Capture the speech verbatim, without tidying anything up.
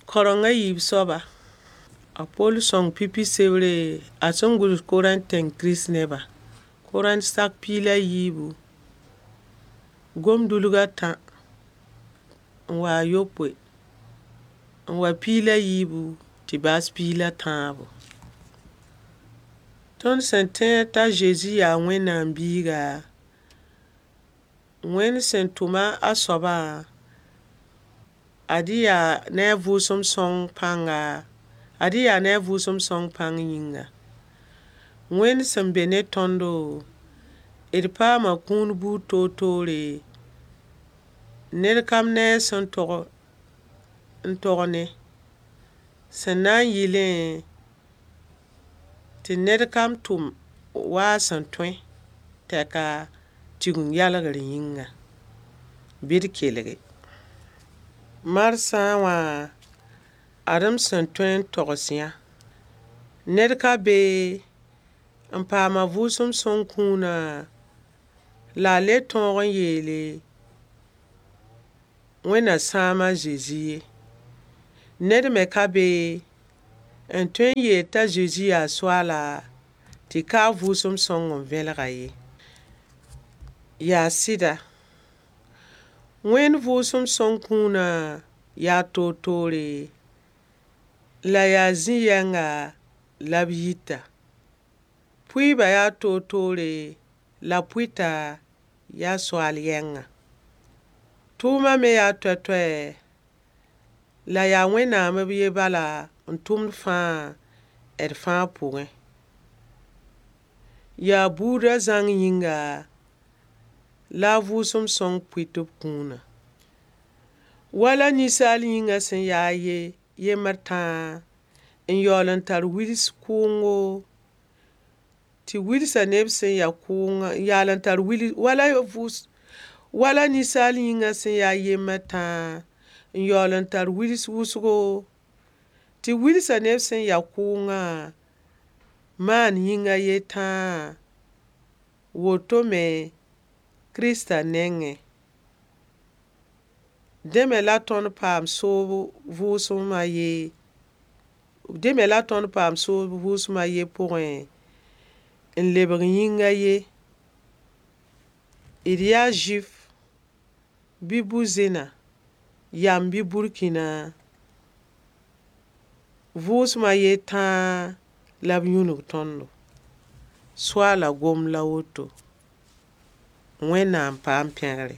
Kareng a yiib soaba. A Poll sõng pipi sebre a sẽn gʋls Korẽnt tẽng Kirist-nebã. Korẽnt sak piig la yiibu, gom-dulg a tã n wa a yopoe, n wa piig la yiibu tɩ baas piig la tãabo. Tõnd sẽn tẽed t'a Zezi yaa Wẽnnaam biiga, Wẽnd sẽn tʋma a soabã, ad-y yaa ne a vʋʋsem sõng pãnga, ad-y yaa ne a vʋʋsem sõng pãng yĩnga. Wẽnd sẽn be ne tõndo, d paama kũun buud toor-toore, ned kam ne a sẽn tog n tog ne, sẽn na n yɩlẽ tɩ ned kam tʋm wa a sẽn tõe tɛka Tigeng-yalgr yĩnga. Bɩ d kelge. Marsã wã, ad-m sẽn tõe n togs yã. Ned ka be n paama vʋʋsem sõng kũunã la a le tõog n yeele Wẽnna sãam a Zezi ye. Ned me ka be n tõe n yeel t'a Zezi yaa Soaala tɩ ka a vʋʋsem sõng n vẽlg-a ye. Yaa sɩda, Wẽnd vʋʋsem sõng kũunã yaa toor-toore, la yaa zĩ-yɛnga la b yita. Pʋɩɩbã yaa toor-toore, la pʋɩta yaa soaal yɛngã. Tʋʋmã me yaa toɛ-toɛ, la yaa Wẽnnaam b yen bala n tʋmd fãa d fãa pʋgẽ. Yaa buudã zãng yĩnga la a vʋʋsem sõng pʋɩt b kũunã. Wala ninsaal yĩngã sẽn yaa a ye, yembr tãa, n yaool n tar wils kʋʋngo, tɩ wilsã neb sẽn ya kʋʋngã, n yaool n tar wil wala vʋʋs wala ninsaal yĩngã sẽn yaa yembr tãa, n yaool n tar wils wʋsgo, tɩ wilsã neb sẽn ya kʋʋngã maan yĩng a yen tãa, woto me Kiristã nengẽ. Dẽ me la tõnd paam soobo vʋʋsem a ye, dẽ me la tõnd paam soob vʋʋsem a yen pʋgẽ, n lebg yĩng a ye. D yaa Zʋɩf bɩ bu-zẽna, yam bɩ burkĩna, vʋʋsem a yen tãa la b yũnug tõndo. Soaala gomd la woto. Wẽnnaam paam pẽgre.